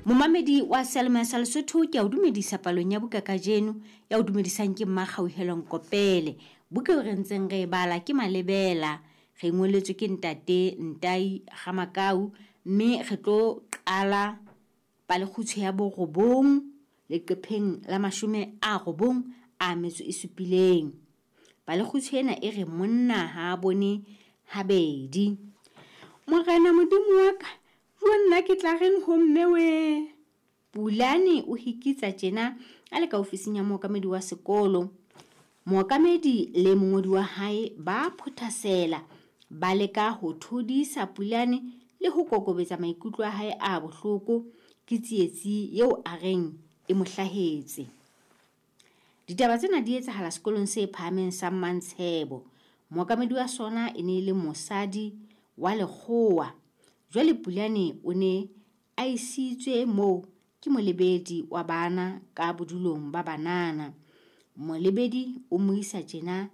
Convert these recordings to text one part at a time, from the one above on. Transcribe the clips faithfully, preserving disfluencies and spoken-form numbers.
Momamedi wa Seyalemoya sa Lesotho, ke a o dumedisa palong ya buka kajeno. Ya o dumedisang ke Mmakgauhelo Nkopele. Buka eo re ntseng re e bala ke Malebela. Re ngoletswe ke ntate Ntai Ramakau, mme re tlo qala palekgutshwe ya borobong leqepheng la mashome a robong a metso e supileng. Palekgutshwe ena e re monna ha a bone habedi. Morena Modimo wa ka, jo nna ke tla reng ho mme we? Pulane o hikitsa tjena a le ka ofising ya mookamedi wa sekolo. Mookamedi le mongodi wa hae ba phothasela, ba leka ho thodisa Pulane le ho kokobetsa maikutlo a hae a bohloko ke tsietsi eo a reng e mo hlahetse. Ditaba tsena di etsahala sekolong se phahameng sa Mmantshebo. Mookamedi wa sona e ne e le mosadi wa lekgowa. Jwale Pulane o ne a isitswe moo ke molebedi wa bana ka bodulong ba banana. Molebedi o mo isa tjena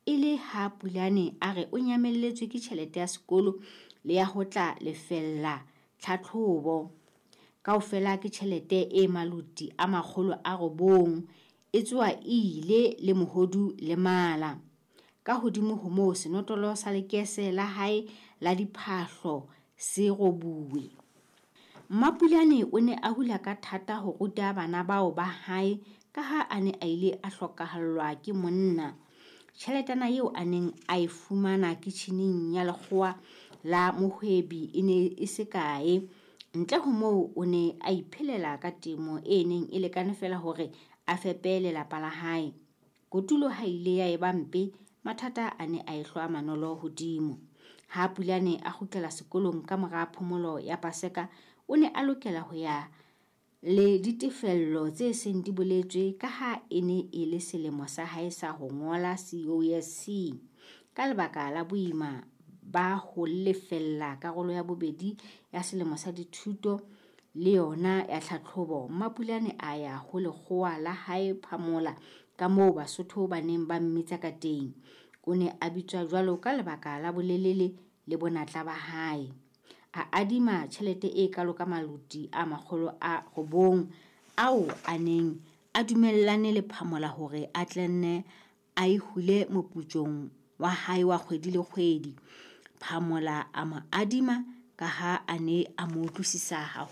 e le ha Pulane a re o nyamelletswe ke tjhelete ya sekolo le ya ho tla lefella tlhatlhobo. Kaofela ke tjhelete e maloti a makgolo a robong, e tswa e ile le mohodu le mala. Ka hodimo ho moo, senotlolo sa lekese la hae la diphahlo se robuwe. Mmapulane o ne a hula ka thata ho ruta bana bao ba hae ka ha a ne a ile a hlokahallwa ke monna. Tjheletana eo a neng a e fumana kitjhineng ya lekgowa la mohwebi e ne e se kae. Ntle ho moo, o ne a iphelela ka temo e neng e lekane feela hore a fepe lelapa la hae. Kotulo ha ile ya eba mpe, mathata a ne a ehlwa manolo hodimo. Ha Pulane a kgutlela sekolong ka mora phomolo ya Paseka, o ne a lokela ho ya le ditefello tse seng di boletswe ka ha e ne e le selemo sa hae sa ho ngola C O S C. Ka lebaka la boima ba ho lefella karolo ya bobedi ya selemo sa dithuto le yona ya tlhatlhobo, Mmapulane a ya ho lekgowa la hae Phamola, ka moo Basotho ba neng ba mmitsa ka teng. O ne a bitswa jwalo ka lebaka la bolelele le bonatla ba hae. A adima tjhelete e kalo ka maloti a makgolo a robong ao a neng a dumellane le Phamola hore a tle nne a e hule moputsong wa hae wa kgwedi le kgwedi. Phamola a mo adima ka ha a ne a mo utlwisisa haholo.